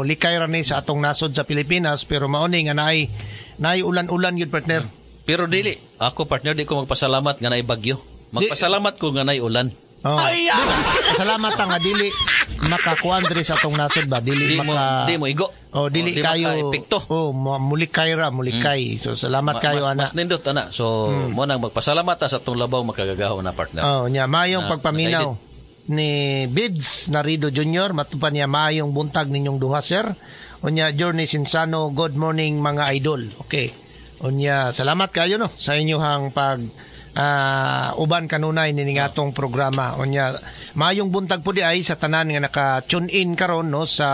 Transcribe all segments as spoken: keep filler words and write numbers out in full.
Mulikay ra ni sa atong nasod sa Pilipinas, pero mao ni nga naay naay ulan-ulan yun, partner. Pero dili ako, partner, di ko magpasalamat nga naay bagyo. Magpasalamat ko nga naay ulan. Oh. Salamat ta nga dili makakuan diri sa atong nasod ba, dili Di mo maka di mo igo. Oh, dili Oh, di kayo maka-epekto. Oh, mu- mulikay ra, mulikay. So salamat Ma- kayo mas, ana. Mas nindot ana. So mo nang magpasalamat ta sa atong labaw makagagahom na, partner. Oh, nya mayong Na- pagpaminaw ni Bids Narido Junior Matupan niya, "Maayong buntag ninyong duha, sir." Unya Journey Sinsano, "Good morning, mga idol." Okay. Unya salamat kayo, no, sa inyong pag ah, uban kanunay nining atong programa. Unya maayong buntag po di ay sa tanan nga naka-tune in karon, no, sa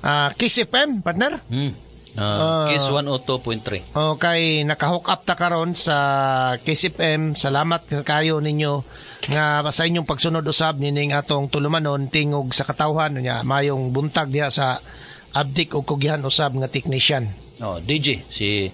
ah, Kiss F M, partner. Hmm. Uh, Kiss one oh two point three. Okay, naka-hook up ta karon sa Kiss F M. Salamat kayo ninyo nga sa inyong pagsunod usab nining atong tulumanon, Tingog sa Katawhan. Nya mayong buntag diha sa Abdik og Kugihan usab nga technician. Oh, D J si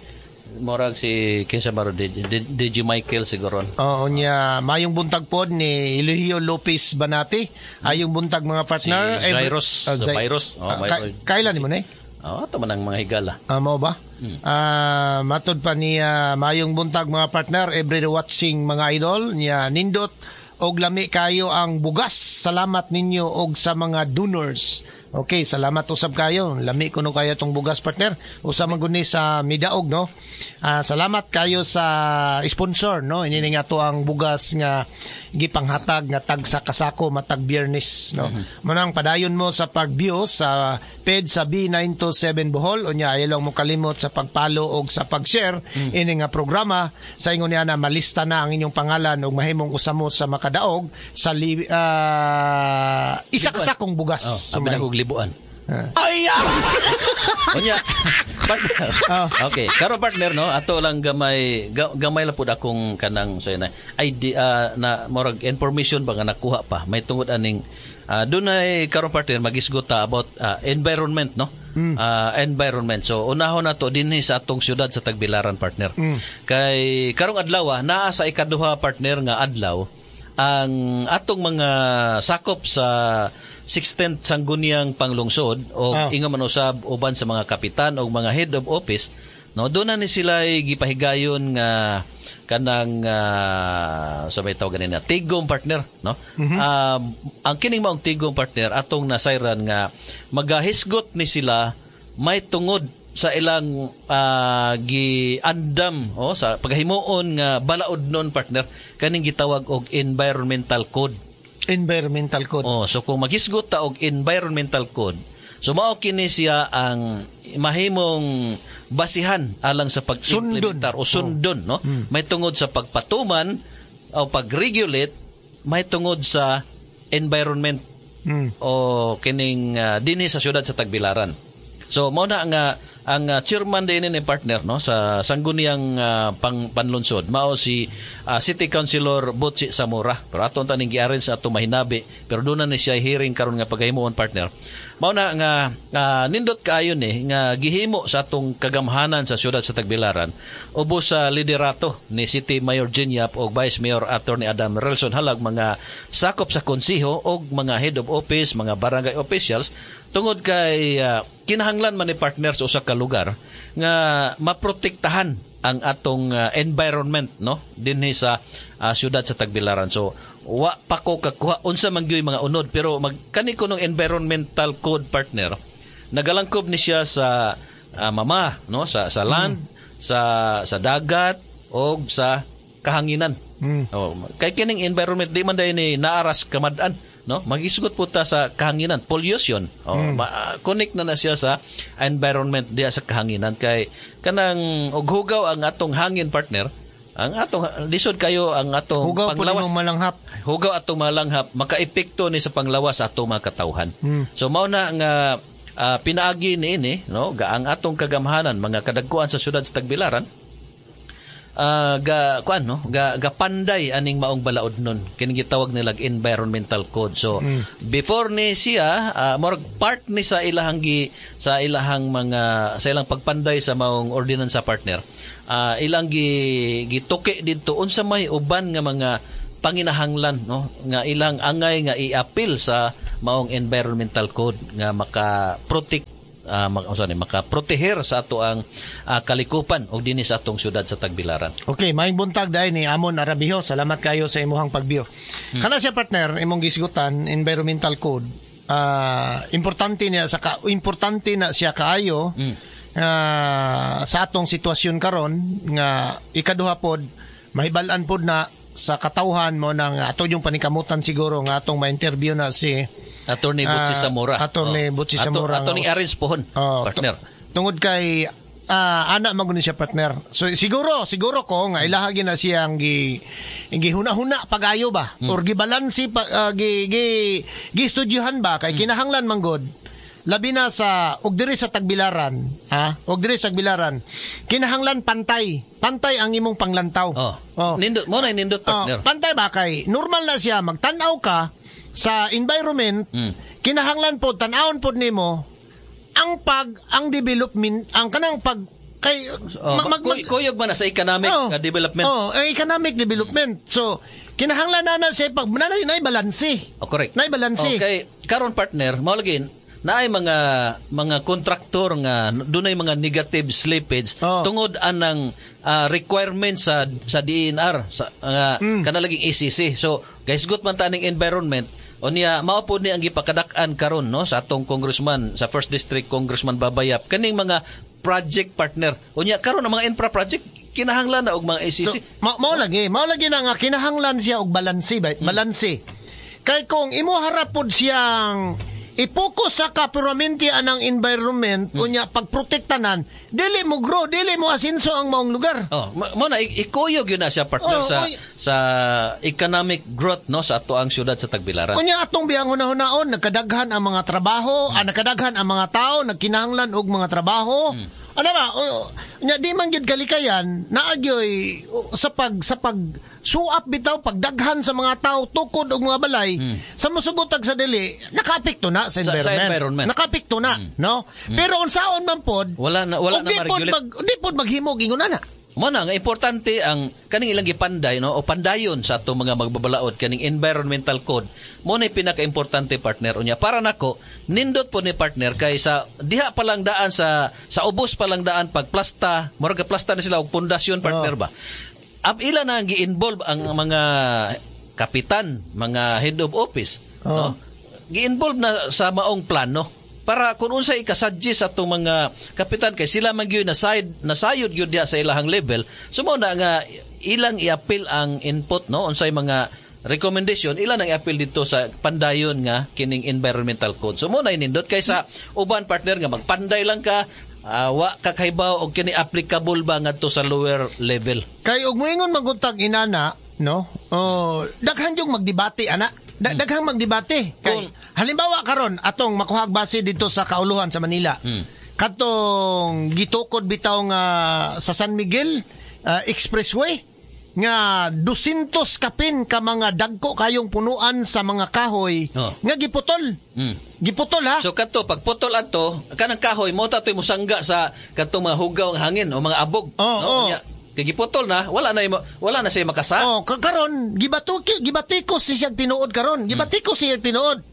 morag si kinsa ba ro D J, D J Michael siguro. Oo, nya mayong buntag pod ni Eligio Lopez Banati. Ayong buntag, mga partner. Si Jairus, Ah, Zai- Virus. Oh, Ah, ka- kailan ni mo ni? Oh, ato man ang mga higala. Ah, mao ba? Ah, matod pa niya, "Mayong buntag, mga partner, every watching, mga idol." Niya nindot og lami kayo ang bugas. Salamat ninyo og sa mga donors. Okay, salamat usab kayo. Lami kuno kayo tong bugas, partner. Usa man gud ni sa midaog, no. Ah, salamat kayo sa sponsor, no. Ini nga to ang bugas nga gipanghatag nga tag sa kasako matag Biyernes, no. Manang padayon mo sa pag-view sa page sa B nine two seven Bohol. Unya ayaw lang mo kalimot sa pag-follow og sa pag-share ini nga programa sa ingon niya na malista na ang inyong pangalan ug mahimong usa mo sa makadaog sa li, ah, isa ka sakong bugas. Oh, abi na kog libuan. Ay! Unya, partner. Oh. Okay, karon, partner, no, ato lang gamay ga, gamay lang pud akong kanang say na ay di ah, na murag information ba nga nakuha pa may tungod aning uh, dunay karon, partner, magisgot ta about ah, environment, no? Ah, environment. So unahon nato dinhi sa atong syudad sa Tagbilaran, partner. Kay karong adlaw, ah, naa sa ikaduha, partner, nga adlaw ang atong mga sakop sa sixteenth Sangguniang Panglungsod o Ah. ingon man usab uban sa mga kapitan o mga head of office, no, doon na ni sila gipahigayon nga kanang uh, sa may tawag ganina tigom, partner, no. Um, ang kining maong tigom, partner, atong nasayran nga magahisgot ni sila may tungod sa ilang ah, giandam oh, sa paghimuon nga balaod nun, partner, kaning gitawag og environmental code. Environmental code. Oh, so kung maghisgot ta og environmental code, so mao kini siya ang mahimong basihan alang sa pag-implementar o sundon, no? May tungod sa pagpatuman o pag-regulate may tungod sa environment Mm. o kining uh, dinhi sa syudad sa Tagbilaran. So mao na nga ang uh, chairman din ni, partner, no, sa Sangguniang uh, pang Panlungsod mao si uh, City Councilor Butchi Zamora. Pero aton taning gi-arrange sa ato mahinabi, pero doon na ni siya hearing karon nga paghimuon, partner. Mao na nga uh, nindot kaayo ni nga gihimo sa atong kagamhanan sa syudad sa Tagbilaran ubos sa liderato ni City Mayor Jean Yap o Vice Mayor Attorney Adam Relson Halag, mga sakop sa konseho og mga head of office, mga barangay officials, tungod kay uh, kinahanglan man ni, partner, sa usa ka lugar nga maprotektahan ang atong uh, environment, no, dinhi sa uh, syudad sa Tagbilaran. So wa pa ko kakuha unsa man gyud mga unod, pero mag kani ko ng environmental code, partner, nagalangkob ni siya sa uh, mama, no, sa sa land, sa sa dagat og sa kahanginan. Mm. Oh, kay kining environment di man dahil ni naaras kamad-an, no? Magisgot po ta sa kahanginan, pollution. Oh, ma- ah, connect na na siya sa environment diya sa kahanginan kay kanang og hugaw ang atong hangin, partner, ang atong lisod kayo ang atong Hugaw po panglawas. nimong malanghap. Hugaw atong malanghap, makaepekto ni sa panglawas sa atong mga katawhan. Mm. So mao na nga ah, pinaagi niini, no, ga ang atong kagamhanan, mga kadagkuan sa syudad sa Tagbilaran, ah, ga kuan, no, ga gapanday aning maong balaod nun kini gitawag nila environmental code. So before ni siya uh, murag part ni sa ilahang gi, sa ilahang mga sa ilang pagpanday sa maong ordinansa, partner, ah, ilang gi gituki didto unsa may uban nga mga panginahanglan, no, nga ilang angay nga iapil sa maong environmental code nga maka-protect. uh, mak, unsa ni, makaproteher sa ato ang ah, kalikupan og dinhi sa atong syudad sa Tagbilaran. Okay, maayong buntag dahil ni Amon Arabiho. Salamat kayo sa imuhang pagbiyo. Hmm. Kana siya, partner, imong gisgutan environmental code. Ah, importante niya sa ka, importante na siya kaayo Hmm. ah, sa atong sitwasyon karon nga ikaduha pod mahibal-an pod na sa katawhan mo nang ato yung panikamutan siguro nga atong ma-interview na si Attorney Butchie Ah, Zamora. Attorney Butchie Ato- Zamora. Attorney arrange pohon, Oh, partner. tu- tungod kay ah, ana man gud ni siya, partner. So siguro siguro ko nga ilaha gyud na siyang gi gihuna-huna pagayo ba Hmm. or gibalansi pa ah, gi gi gistudyuhan ba kay Hmm. kinahanglan man gud labi na sa og diri sa Tagbilaran, ha, og diri sa Tagbilaran kinahanglan pantay pantay ang imong panglantaw. Oh. Oh. Nindot mo na nindot, partner. Oh, pantay ba kay normal na siya magtan-aw ka sa environment, Mm. kinahanglan po tan-awon pod nimo ang pag ang development, ang kanang pag kay Oh, mag, mag, kuy- kuyog man na sa economic Oh, nga development. Oh, eh, economic development. So kinahanglan na na siya pag na na balanse. Oh, correct. Nay balanse. Okay, karon, partner, mao lagi naay mga mga kontraktor nga dunay mga negative slippage Oh. tungod anang ah, requirement sa sa D E N R sa nga Mm. kana laging A C C. So, guys, good man ta ning environment. Unya mao pod ni ang gipakadak-an karon, no, sa atong congressman sa First District, Congressman Babayap, kaning mga project, partner. Unya karon ang mga infra project kinahanglan na og mga A C C. So, ma mao lagi, mao lagi na nga kinahanglan siya og balanse ba? Balanse. Kay kung imo harap pod siyang ipokus sa kapuramente anang environment, unya pagprotektanan, dili mo grow, dili mo asinso ang maong lugar. Oh, ma- mo na i- ikuyog yun na siya, partner, Oh, sa oy. sa economic growth, no, sa ato ang syudad sa Tagbilaran. Unya atong biyang hunahunahon, nagkadaghan ang mga trabaho, ah, nagkadaghan ang mga tao, nagkinahanglan og mga trabaho. Ano ba? O, unya di man gyud kalikayan, naagyoy o, sa pag sa pag suap bitaw pagdaghan sa mga tao tukod og mga balay sa musugotag sa dili, nakaapekto na sa Sa- sa environment. environment. Nakaapekto na, no? Pero unsaon man pod, Wala na wala og na di pod ma-regulate. mag di pod maghimog ingon na. Mo na nga importante ang kaning ilang gipanday, no, o pandayon sa atong mga magbabalaod kaning environmental code. Mo na pinaka-importante, partner. Unya para nako nindot po ni, partner, kay sa diha pa lang daan sa sa ubos pa lang daan pagplasta, murag plasta na sila og pundasyon, partner, ba. Ab ila na ang gi-involve ang mga kapitan, mga head of office, Oh. no? Gi-involve na sa maong plano para kung unsay ikasuggest sa atong mga kapitan kay sila man gyud na side nasayod gyud diha sa ilahang level. So mao na nga ilang i-appeal ang input, no, unsay mga recommendation ilan ang i-appeal dito sa pandayon nga kining environmental code. So mo na inindot kaysa uban, partner, nga magpanday lang ka, ah, wa ka kahibaw og kini applicable ba ngadto sa lower level. Kay og moingon maguntag inana, no? Oh, daghan yung magdebate ana. Da- Daghang magdebate. Kay Kung- halimbawa karon atong makuhag base dito sa Kauluhan sa Manila. Katong gitukod bitaw nga sa San Miguel ah, Expressway nga dosyentos kapin ka mga dagko kayong punuan sa mga kahoy Oh. nga giputol. Mm. Giputol ha. So kadto pagputol adto kanang kahoy mo tatoy musangga sa kadtong mga hugaw ang hangin o mga abog, Oo, no? oo. Unya, kay giputol na, wala na imo- wala na siya makasa. Oh, ka- karon gibatuki gibatiko si siyang tinuod karon. Gibatiko siya tinuod.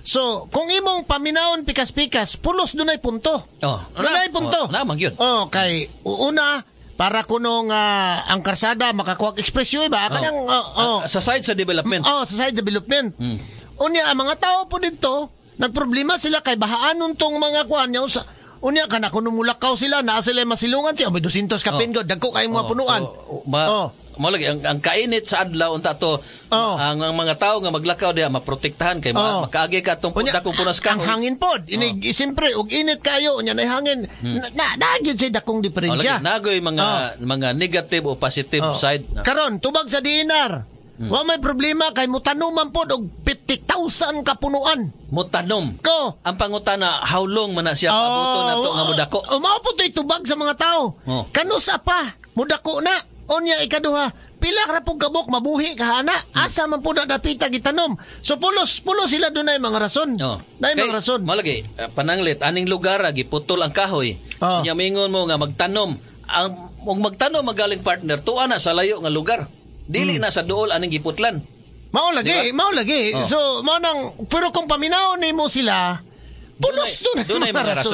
So, kung imong paminawon pikas-pikas, pulos dunay punto. Oh, Dunay punto. Oh, naman gyud. Oh, kay una para kuno nga ang karsada makakuha expressway ba kanang oh, oh. Ah, sa side sa development. Oh, sa side development. Mm. Unya ang mga tao po dito, nagproblema sila kay bahaanon tong mga kuan niya sa unya kana kuno mulakaw sila naa sila masilungan siya may dosyentos kapin oh. Dagko kay mga Oh, punuan. So, ma, Oh. Mao lagi ang, ang kainit sa adlaw unta to, Oh. ang, ang mga tao nga maglakaw diha maprotektahan kay Oh. ma, makaagi ka atong Unya, dakong punas ang kahoy. hangin pod. Inig, siyempre, og init kayo, unya na hangin. Na, na, na, gyud siya dakong Oh, lagi, diferensya. nagoy mga mga negative o positive Oh. side. Karon, tubag sa D E N R. Hmm. Wa may problema kay mutanuman pod og fifty thousand kapunuan. Mutanom. Ko. Ang pangutana, how long man na siya pabuto na to nga mudako? Oh, mao po to'y tubag sa mga tao. Oh. Kanusa pa, mudako na. Unya ikaduha, pila ra pong kabok mabuhi ka ana. Asa man po na dapita gitanom. So pulos pulos sila dunay mga rason. Oh. Dunay Kay, mga rason. Mao lagi, eh, pananglit aning lugar ah, giputol ang kahoy. Oh. Unya mingon mo nga magtanom. Ang og magtanom magaling, partner, tuwa na sa layo nga lugar. Dili Hmm. na sa duol aning giputlan. Mao lagi, Di ba? mao lagi. Oh. So mao nang pero kung paminaw nimo sila, pulos Dunay- dunay dunay mga mga rason.